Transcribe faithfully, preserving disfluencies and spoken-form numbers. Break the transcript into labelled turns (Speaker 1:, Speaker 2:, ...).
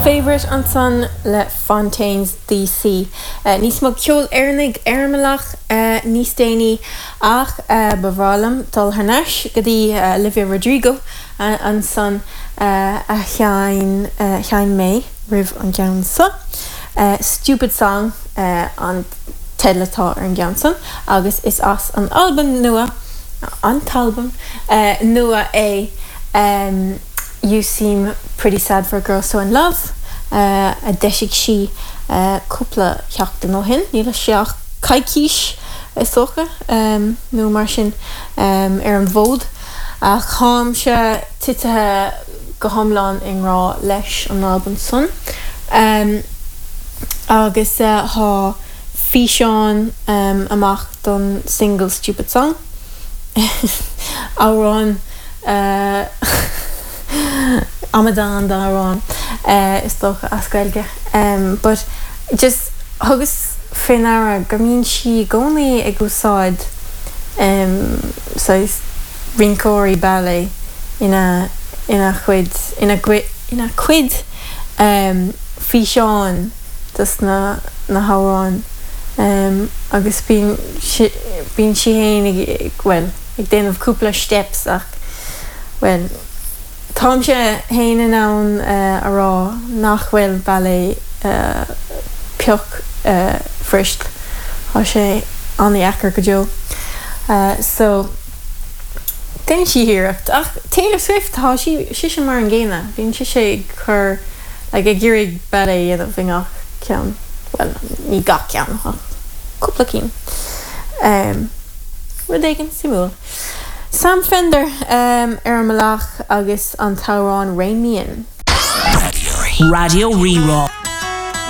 Speaker 1: Favourite ansan le Fontaines DC. Uh, níos mó ceol Éireannaigh ar an mbealach uh, níos déanaí ach uh, ba bhreá liom dul thar n-ais go dtí uh, Olivia Rodrigo uh, ansan uh, a sheinn uh, sheinn mé roimh an gceann seo. Uh, Stupid Song uh, an teideal atá ar an gceann san agus is as an album nua an t-album uh, nua é um, You Seem Pretty Sad for a Girl So in Love uh, a d'eisigh sí uh, cúpla seachtain ó shin, níl sé ach coicís is dócha um, nó mar sin um, ar an bhfód ach táimse tite go hiomlán i ngrá leis an album san. Um, agus uh, tá físeán um, amach don single Stupid Song. Amhrán uh, amadán d'amhrán uh, is dócha as Gaeilge. Um, but just thugas faoi deara go mbíonn sí i gcónaí ag úsáid um, rinceoirí ballet ina ina chuid ina ina cuid um, físeán dus na na hamhráin um, agus bíonn bíonn sí féin ag well ag déanamh cúpla steps ach well Táimse féin in ann uh, a rá nach bhfuil ballet uh, pioc uh, fuirist Tá sé an-deacair go deo. Uh, so Déanann sí iarracht ach Taylor Swift tá sí sí sin mar an gcéanna, bíonn sí sé ag chur ag ag iarraidh ballet dhéanamh i ngach ceann well ní gach ceann cúpla cinn. Um, Rud éigin suimiúil. Sam Fender um, ar an mbealach agus an t-amhrán Rein Me In.
Speaker 2: Raidió Rí-Rá.